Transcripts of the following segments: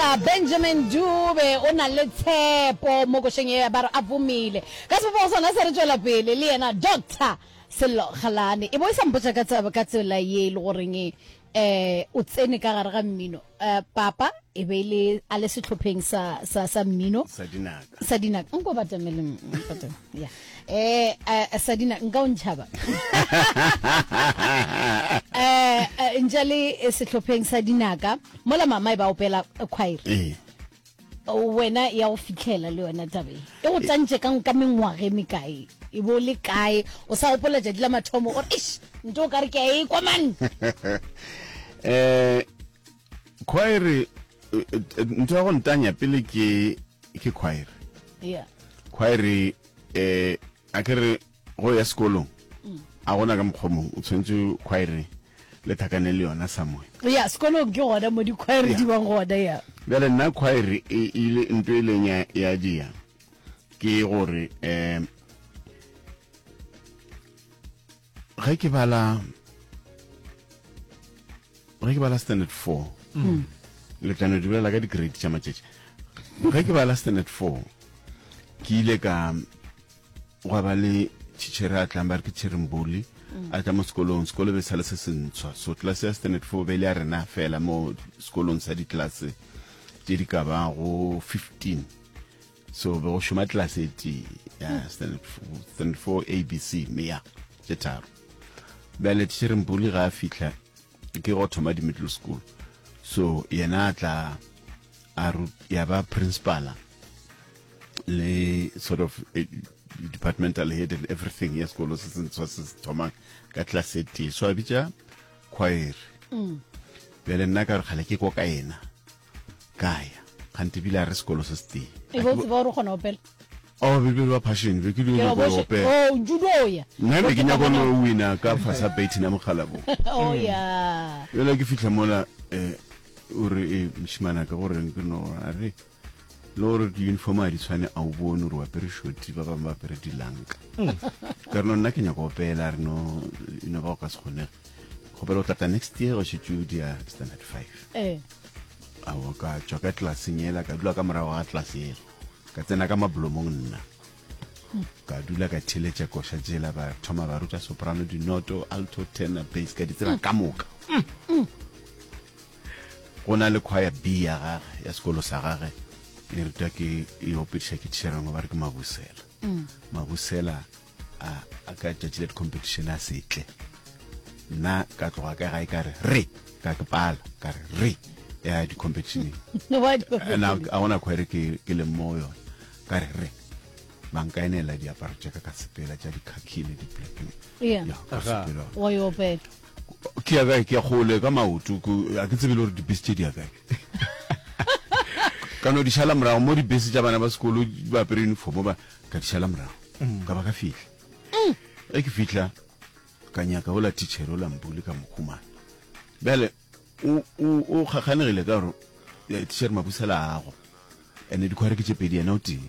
Doctor Benjamin Dube o na le tshepo mo košeng ye ba re a vomile. Ka sebopego sona se re tšwela pele le yena Doctor Sello Kgalane. E bo e sa mpotša ka tseba ka tsela ye e le goreng eh o tsene ka gare ga mmino. Eh papa e be e le a le sehlopheng sa sa sa mmino. Sa dinaka. Sa dinaka. Nko batamele batamele. Ya. Eh eh sa dinaka nka o ntšhaba. Eh eh, ntša le sehlopheng sa dinaka mola mama e ba opela choir. Ee. Wena ya go fihlela le yona taba e. E go tantše ka ka mengwaga e mekae? E bo le kae? O sa gopola tšatši la mathomo gore eish nto o ka re ke a e kwa man. Eh choir eh, eh, ntho ya go ntanya pele ke ke choir. Yeah. Choir eh a ke re go ya sekolong a gona ka mokgwa mongwe o tshwanetse choir le thakane le yona somewhere. Ya sekolong ke gona mo di-choir di bang gona ya. Bjale nna choir e ile ntho e leng ya ya dia ke gore um ge ke bala ge ke bala standard 4 mm. le tla no di bolela ka di-grade tša matšatši ge ke bala standard 4 ke ile ka gwa ba le tšhitšhere a tlang ba re ke tšheremboli mm. a tla mo sekolong sekolo be sa le se sentshwa so tlelase ya standard 4 be le ya rena fela mo sekolong sa ditlelase tše di ka bago 15 so be go šoma tlelase e tee ya standard standard 4 abc mme ya tše tharo bjale tšheremboli ga a fihla ke go thoma di-middle school so yena a tla a ya ba principala le sort of eh, departmental head and everything ya sekolo se sentshwa se se thomang ka class e tee so a bitša choir mm. bjale nna ka re kgale ke ko ka yena ka ya kgante bile a re sekolo se se tee e bo tseba gore o kgona opela Oh, be be ba passion be ke di nyako go opela. Oh, njudoya. Nna be ke nyako no wina ka fasa baiting ya mogala bo. Oh ya. Yela ke fihla mola eh o re eh moshimana ka gore ke no a re le gore di-uniform a di tshwane a o bone gore o apere shoti ba bangwe ba apere dilanka mm. ka re no nna ke nyako opela re no e no ba go ka se kgonege kgopela o tlatla next year go šetse o dia standard five eh. ao ka tswa ka tlelaseng ela ka dula ka morago ga tlelase ela Ka tsena ka mablomong nna. Ka dula ka theeletša koša tšela, ba thoma ba ruta soprano, dinoto, alto, tenor, bass, ka di tseba ka moka. Go na le choir B ya gage, ya sekolo sa gage, e rutwa ke, e opediša ke tšhere ngwe ba re ke Mabusela. Mabusela a, a ka tšatši la di-competition a se tle. Nna ka tloga ka gae ka re, re, ka ke pala, ka re, re, ya di-competitioneng. Na a gona khwaere ke, ke leng mo yona. Ka re, re, ba nkaenela diaparo tša ka ka sepela tša di-khaki le di-black. Yeah. Ya, ka sepela. Wa yo opela. Ke ya kae? Ke ya kgole ka maoto, ke, a ke tsebe le gore dibese tše di ya kae. Ka no di šala morago mo dibese tša bana ba sekolo ba apere uniform ba, ka di šala morago mm. ka ba ka fihla mm. ge ke fihla ka nyaka ola teacher ola mbule ka mokhumana bjale o kgakganegile ka gore eh, teacher mabusela ago ene dikhware ke tše pedi yena o tee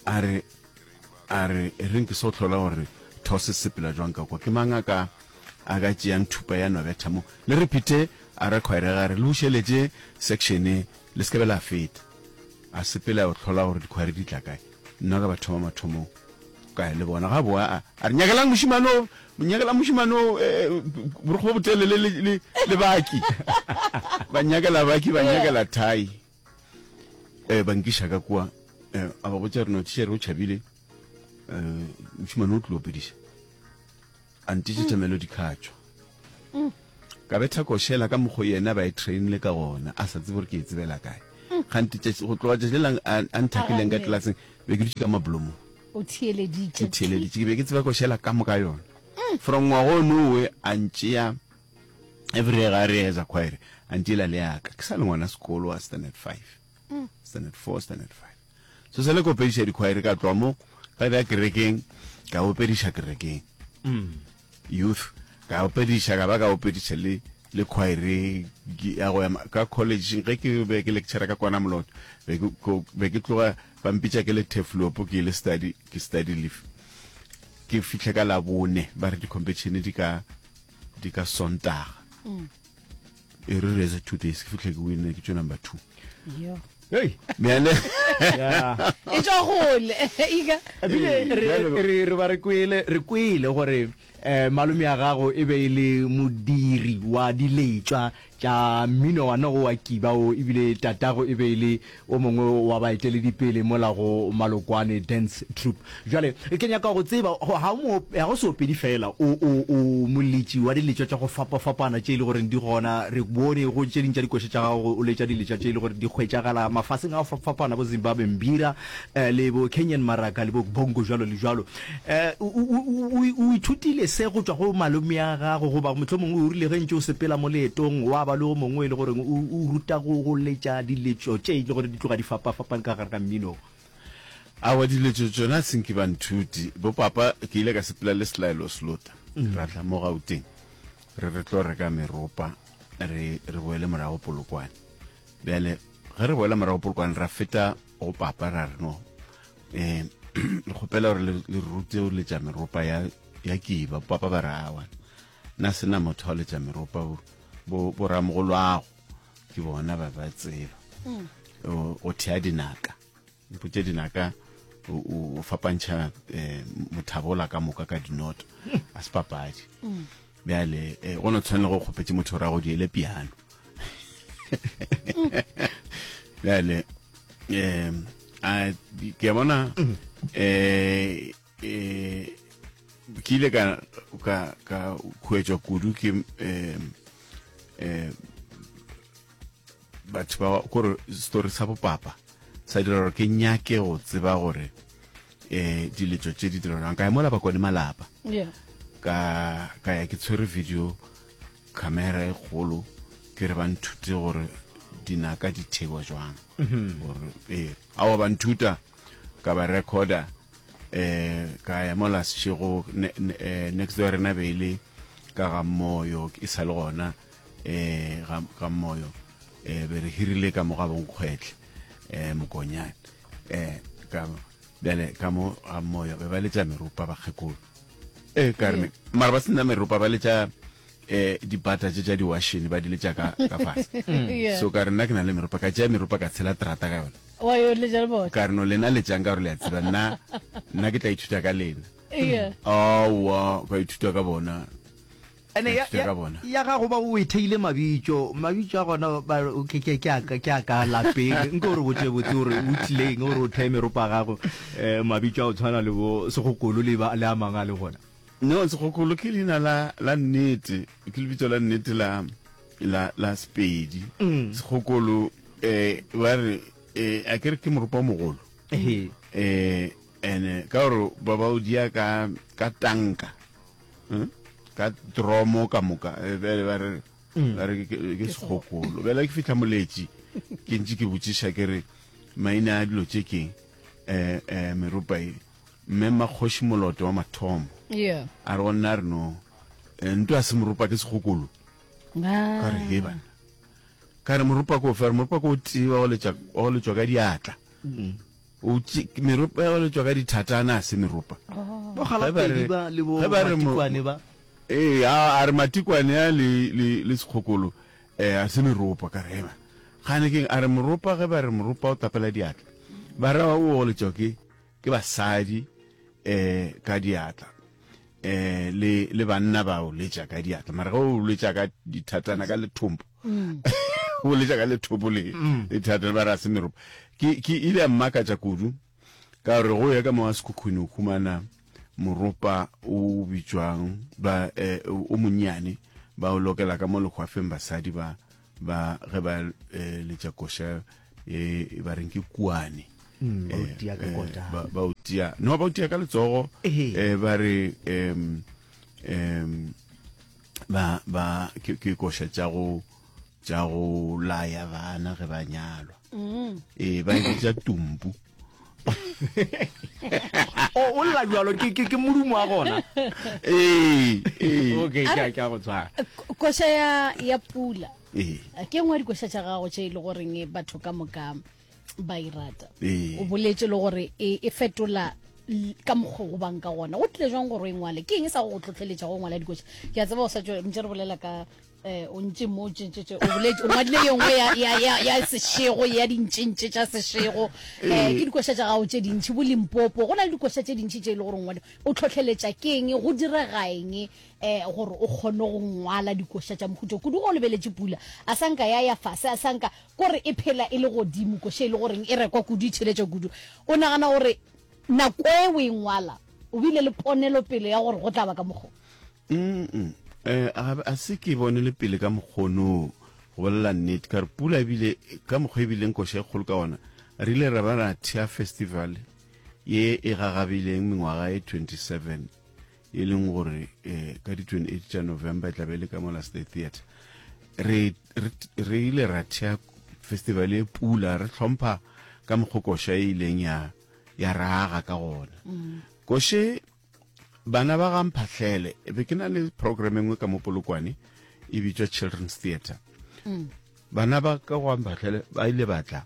a re a re e reng ke so hlola gore those sepela jwang ka kwa ke mang a ka a ka tšeang thupa ya nobetha mo le re phete a re khwaere ga re le bušeletše section le se ke be la feta A sepela a yo hlola gore dikhwari di tla kae. Nna ka ba thoma mathomong ka ya le bona. Ga boa a, a re, Nyakelang mošemane o, nyakelang mošemane o, eh, borokgo bo botelele le, le, le baki. Ba nyakela baki, ba nyakela thai. Eh, ba nkiša ka kua. Eh, a ba botša re no, tšere o tšhabile. Eh, mošemane o tlilo opediša. A ntišetša melody ka tšwa. Ka betha košela ka mokgo yena ba e trainile ka gona, a sa tsebe gore ke e tsebela kae. Kgante tšatši, go tloga tšatši le lang a, a nthakileng ka tlelaseng, be ke dutše ka mablomong. O theeleditše. Ke theeleditše, ke be ke tseba košela ka moka yona. From ngwaga onowe a ntšea every year ga re eza choir, a ntšeela le yaka. Ke sa le ngwana sekolo wa standard five. Standard four, standard five. So sa le ka opediša dikhwaere ka tloga mo ka ya kerekeng ka opediša kerekeng youth ka opediša ka ba ka opediša le le khwaere ya go ya ka college ge ke be ke lecturer ka kwana moloto be ke be ke tloga ba mpitša ke le teflopo ke ile study ke study leave ke fihle ka labone ba re di competition di ka di ka sontaga mm. E re reze 2 days ke fihle ke winne ke tšwe number 2. Yo. Hey. Bjale. Yeah. E tšwa gole. Ika. Ebile re re re ba re kwele re kwele gore eh malome ya gago e be e le modiri wa diletšwa tša mmino wa nogo wa kiba o ebile tatago e be e le o mongwe wa baeteledipele mola go Malokwane Dance Troupe. Bjale ke nyaka go tseba, ga o mo, ga o seopedi fela, o, o, o moletši wa diletšwa tša go fapafapana tše e le goreng di gona. Re bone go tše ding tša dikoša tša gago o letša diletšwa tše e le gore di hwetšagala mafaseng a go fapafapana, bo Zimbabwe Mbira, le bo Kenyan Maraka le bo Bongo jwalo le jwalo. O, o, o, o ithutile se go tšwa go malome a gago goba mohlomongwe o rile ge ntše o sepela mo leetong wa ba le o mongwe e le goreng o, o ruta go, go letša diletšo tše e le gore di tloga di fapafapane ka gare ga mmino? Aowa, diletšo tšona se nke ba nthuti. Bo papa ke ile ka sepela le Selaelo Slota, ra tla mo Gauteng re re tlo reka meropa re, re boele morago Polokwane. Bjale ge re boela morago Polokwane ra feta go papa ra re no um re kgopela gore le le rute go letša meropa ya ya kiba. Papa ba re awa nna se na motho wa letša meropa bo bo bo ramogolwago ke bona ba ba tseba o o thea dinaka mpotše dinaka o o- o fapantšha eh, mothabola ka moka ka dinoto a se papadi bjale eh, go no tshwanela go kgopetše motho gore a go diele piano bjale um a ke a bona um eh ke ile ka ka ka huetšwa kudu ke um um batho ba kore story sa bopapa sa dira gore ke nyake go tseba gore um diletšo tše di direlwang ka ya mola bakone malapa Yeah. ka ka ya ke tshwere video camera e kgolo ke re ba nthute gore dinaka di thewa jwang gore ee aowa ba nthuta ka ba recorda eh ka ya mola sešego ne, ne, eh, next door rena be e le ka ga moyo e sa le gona eh ga, ga moyo eh be re hirile ka mo ga bonkgwetle eh mokonyane eh ka bjale ka mo ga moyo be ba letša meropa bakgekolo eh ka re mara ba sena meropa ba letša eh dipata tše tša diwashene ba di letša ka ka fase Yeah. so ka re nna ke na le meropa ka tšea meropa ka tshela terata ka yona Wa yo letša le bona. ka re no lena letšang ka gore le a tseba nna nna ke tla ithuta ka lena Yeah. aowa ka ithuta ka bona Ene Ka ya, ithuta ya, ka bona ya gago ba o e theile mabitšo, mabitšo a gona ba re ke, ke, ke a ka, ke a ka lapeng. Nko o re botše botse gore o tlileng gore o theye meropa ya gago, eh, mabitšo a go tshwana le bo Segokolo le ba, le a mangwe a le gona. No, Segokolo ke leina la, la nnete, ke lebitso la nnete la, la, la Sepedi. Segokolo, eh, ba re, eh, a ke re ke moropa o mogolo. Ehe. Eh, ene ka gore ba ba o dia ka, ka tanka. Hmm? Ka dromo ka moka, eh, bjale ba re, ba re ke, ke Segokolo. Bjale ke fihla Moletši, ke ntše ke botšiša ke re, maina a dilo tše keng, eh, eh, meropa e. Mme Mmakgoši Moloto wa mathomo Yeah. a re go nna a re no eh, nto a se moropa ke segokolo ka re he bana ka re moropa ko fe a re moropa ko o tee wa go letša wa go letšwa ka diatla o tše- meropa ya go letšwa ka dithatana a se meropa Bo Ge ba re- Galapedi ba le bo ge ba re mo- Matikwane ba. ee a a re matikwane a le le le sekgokolo eh a se meropa ka re ema gane keng a re moropa ge ba re moropa o tapela diatla ba ra o go letšwa ke ke basadi eh ka diatla eh le le banna ba o letša ka diatla mara ge o letša ka dithatana ka lethompo mm. o letša ka lethopo le mm. le thatana ba ra se meropa ke ke ile ya mmakatša kudu ka gore go ya ka mo wa sekhukhune o humana moropa o bitšwang ba eh, o monnyane ba o lokela ka mo lehwafeng basadi ba ba ge ba eh, letša koša e ba reng ke kuane mm, ba o eh, tia ka eh, kota ba ba o tia no ba o tia ka letsogo Ehe. eh, ba re em em ba ba ke ke koša tša go tša go laya bana ge ba nyalwa ee ba e bitša tumpu o o lla jalo ke ke ke modumo wa gona ee ee okay ke a ke a go tshwara Koša ya ya pula. ee Ke nngwe ya dikoša tša gago tše e le goreng batho ka moka ba e rata. Ee. O boletše le gore e, e fetola l- ka mokgwa o bang ka gona. Go tlile jwang gore o e ngwale? Ke eng e sa go go tlhotlheletša go ngwala dikoša? Ke a tseba o sa tšo ntše re bolela ka. Eh, o ntše mo tšentšetše o boletše o ngwadile ye nngwe ya, ya, ya, ya sešego ya dintšentše tša sešego eh, ke dikoša tša gago tše dintšhi bo limpopo go na le dikoša tše dintšhi tše e le gore ngwadi o tlhotlheletša ke eng go direga eng eh, gore o kgone go ngwala dikoša tša mohuto kudu go lebeletše pula a sanka ya ya fase a sanka kore e phela e le godimo koša e le goreng e rekwa kudu e tšheletša kudu o nagana gore nako e o e ngwala o bile le ponelopele ya gore go tla ba ka mokgwa Mm eh a a se ke bone le pele ka mokgono go bolela nnete ka re pula ebile ka mokgwa ebileng koša e kgolo ka ona re ile ra ba ra thea festival ye e gagabileng mengwaga e 27 e leng gore eh, ka di 28 tša November e tla be e le ka mola State Theatre re re ile ra thea festival e pula re hlompha ka mokgwa koša e ileng ya ya raga ka gona mm. koše Bana ba ga Mphahlele, be ke na le program e nngwe ka mo Polokwane e bitšwa Children's Theatre. Mm. Bana ba ka go Mphahlele ba ile ba tla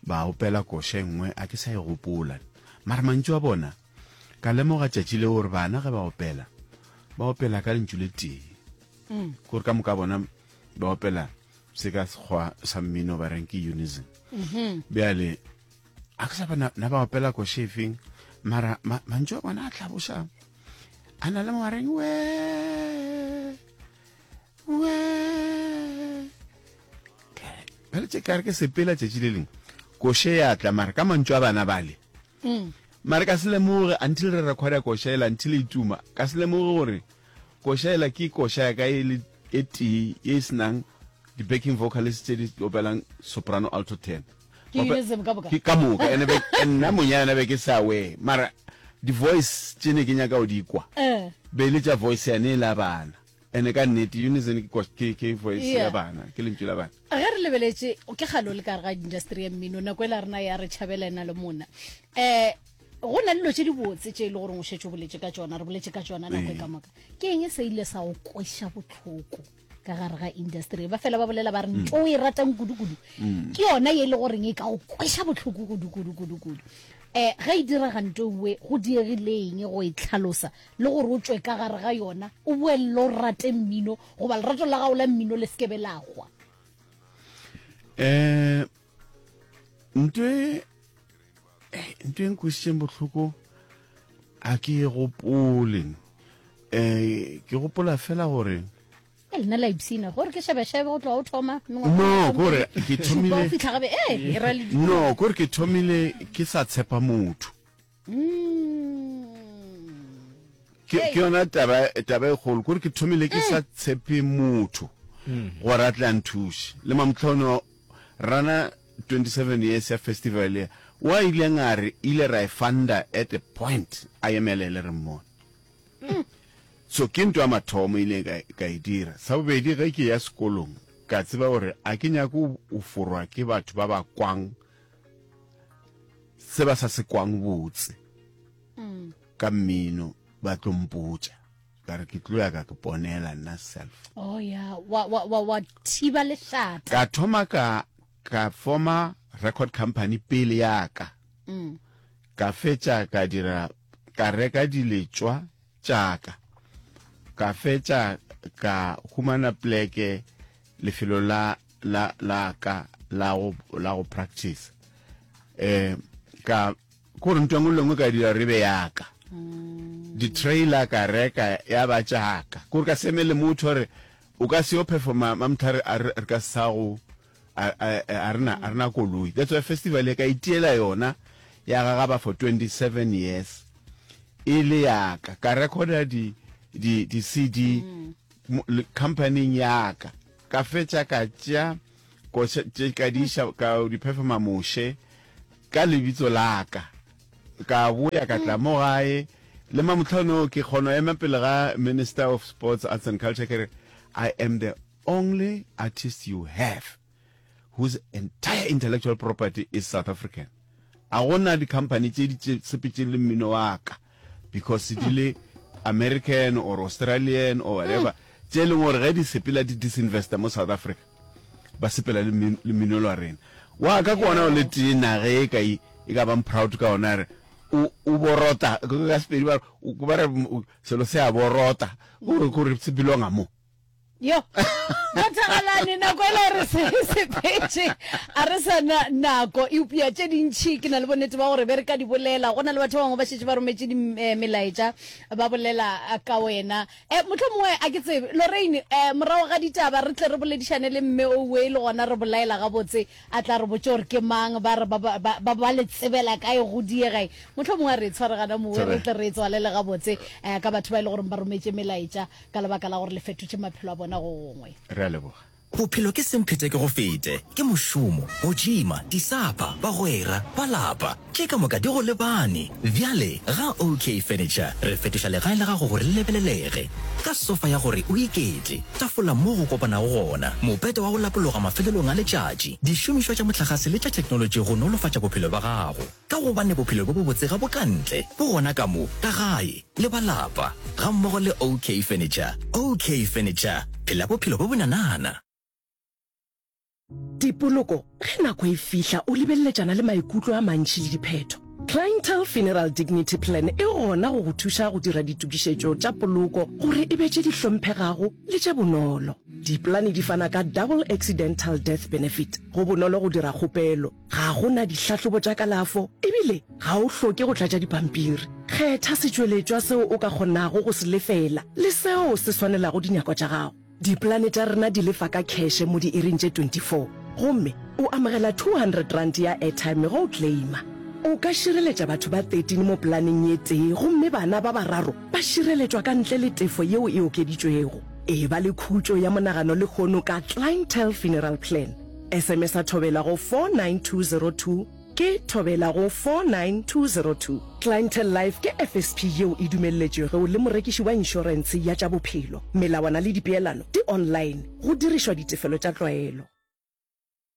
ba opela koša e nngwe a ke sa e gopola. Mara mantšu a bona ka lemoga tšatši leo gore bana ge ba opela ba opela ka lentšu le tee. Mm. Gore ka moka bona ba opela se ka sekgwa sa mmino ba reng ke unison. Mm -hmm. Bjale a ke sa ba na ba opela koše efeng mara mantšu a bona a tlhaboša a na le mogareng we we bjale tše kare ke sepela tšatši le lengwe koše ya tla mara ka mantšu a bana bale mm. mara ka se lemoge until re recorda koša ela until e tuma ka se lemoge gore koša ela ke koša ya ka e le e tee ye e senang di-backing vocalist tše di opelang soprano alto tenor Ke unison ka moka? Ke ka moka ene be nna monyana be ke sa we mara di voice tše ne ke nyaka go di kwa eh. be le tša voice yane e la bana ene ka nnete unison ke ke ke voice ya Yeah. bana ke lentšu la bana ge re lebeletše ke kgale o le ka gare ga industry ya mmino nako e la rena ya re tšhabela ena le mona um go na le dilo tše dibotse tše e le goreng o šetše o boletše ka tšona re boletše ka tšona nako e ka moka ke eng se ile sa go kweša bohloko ka gare ga industry ba fela ba bolela ba re ntho o e ratang kudu-kudu mm. ke yona ye e le goreng e ka go kweša bohloko kudu-kudu kudu-kudu um ge e direga nto nngwe go diegileng go e tlhalosa le gore o tswe ka gare ga yona o boelele o rate mmino goba lerato la gago la mmino le sekebe la gwa um nto e eh, nto e nkwešitšeng bohloko a ke e gopole um ke gopola fela gore E lena la ipshina gore ke šebešebe go tloga o thoma no kore ke thomile fitlha gabe e e ra le no kore ke thomile ke sa tshepa motho mm. ke ke yona taba taba e kgolo kore ke thomile ke sa tshepe motho mm. gore a tle a nthuše le mamtlhono rana 27 years ya festival ya wa ileng a re ile ra e funda at a point a emelele re mmone So ke ntwa mathomo ile ka, ka e dira. Sa bobedi ge ke ya sekolong ka tseba gore a ke nyake go forwa ke batho ba ba kwang se ba sa se kwang botse ka mmino ba tlo mpotša ka re ke tlo ya ka ke ponela nna self. Oh ya wa wa wa wa thiba lešata. Ka thoma ka ka forma record company pele ya ka. Ka fetša ka dira ka reka diletšwa tša ka. Ka fetša ka humana pleke lefelo la la la ka la go la go practice. Eh ka gore ntho engwe le engwe ka dira re be ya ka. Di-trailer ka reka ya ba tša ka. Kore ka se emele motho gore o ka se yo performa Mamthare a re re ka se sa go a, a, a rena a rena koloi that's why festival e ka itiela yona ya gagaba for 27 years e le yaka ka recorda di di di CD mm. company yaka ka fetša ka tšea koša tše ka di iša ka di performa moshe ka lebitso la ka ka boya ka tla mo gae le mamotlhano ke kgono ema pele ga minister of sports arts and culture ke re i am the only artist you have whose entire intellectual property is South African. A go na di-company tše di sepetšeng le mmino wa ka because di le American or Australian or whatever tše e leng gore ge di sepela di disinvesta mo South Africa ba sepela le mmino wa rena. Wa ka ke ona o le tee nage e ka e ka bang proud ka ona re o o borota ka Sepedi ba re selo se a borota gore gore se belonga mo. Yo, Doctor Galane, nako e le gore se sepetše, a re sa na nako, eupša tše dintši ke na le bonnete ba gore be re ka di bolela. Go na le batho ba bangwe ba šetše ba rometše eh, melaetša ba bolela eh, ka wena. Eh, mohlomongwe a ke tsebe, Lorraine, eh, morago ga ditaba re tle re boledišane le mme owe le gona re bolaela gabotse, a tla re botše gore ke mang, ba re ba, ba, ba, ba, ba le tsebela kae go diega. Mohlomongwe a re e tshware gana mowe, re tle re e tswalele gabotse eh, ka batho ba e le gore ba rometše melaetša. ka lebaka la gore le fetotše maphelo a bona go gongwe. Re a leboga. Bophelo ke semphete ke go fete, ke mošomo, go tšima, disapa, bagwera, ba lapa, tše ka moka di go lebane. Bjale ga OK Furniture re fetoša legae la gago gore le lebelelege. Ka sofa ya gore o iketle, tafola mo go kopanago gona, mopete wa go lapologa mafelelong a letšatši, dišomišwa tša mohlagase le tša theknolotši go nolofatša bophelo bja gago. Ka gobane bophelo bjo bobotse ga bo ka ntle, bo gona ka mo, ka gae, le ba lapa, gammogo le OK Furniture. OK Furniture, phela bophelo bjo bonanana. Dipoloko, Ge nako e fihla o lebeleletšana le maikutlo a mantši le diphetho. Clientele Funeral Dignity Plan e gona go go thuša go dira ditokišetšo tša poloko gore e be tše di hlomphegago le tše bonolo. Dipolane di fana ka Double Accidental Death Benefit. Go bonolo go dira kgopelo. Ga go na dihlahlobo tša kalafo e bile ga o hloke go tlatša dipampiri. Kgetha setšweletšwa seo o ka kgonago go se lefela le seo se swanelago dinyakwa tša gago. Dipolane tša rena di lefa ka kheše mo diiring tše 24 gomme o amogela R200 ya airtime ge o claima. O ka šireletša batho ba 13 mo polaneng ye tee gomme bana ba bararo ba šireletšwa ka ntle le tefo yeo e okeditšwego. Eba le khutšo ya monagano lehono ka Clientele Funeral Plan. SMS-a Thobela go 49202 ke Thobela go 49202. Clientele Life ke FSP yeo e dumelletšwego le morekiši wa inšorentshe ya tša bophelo. Melawana le dipeelano di online go dirišwa ditefelo tša tlwaelo.